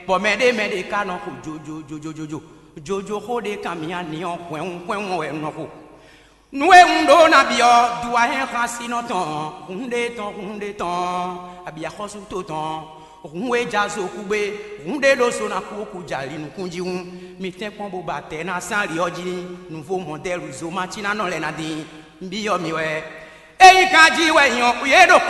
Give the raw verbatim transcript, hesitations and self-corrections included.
Bɔ mɛ ɖé mɛ ɖé ka nɔ xo jojojojojojo. Jojoxó ɖé kan mǐ ani ɔ́ hwɛ́nhun hwɛ́nhun wɛ un nɔ xo. Nǔ e un ɖó ná byɔ́ duwahɛ́nxásinɔ tɔn, hun ɖé tɔn, hun ɖé tɔn, abǐ axɔ́sútó tɔn, hun e ja zo kú gbé, hun ɖé ɖó so ná kú kú ja li nukún jí hún, mi tɛ́nkpɔ́n bó ba tɛ̌ ná sán ali ɔ́ jí ní nǔvó mɔdɛ́lu zomacínánɔ lɛ́ɛ ná dín. Un byɔ́ mi wɛ. Ényí kan jí wɛ nyɔ yě ɖo xó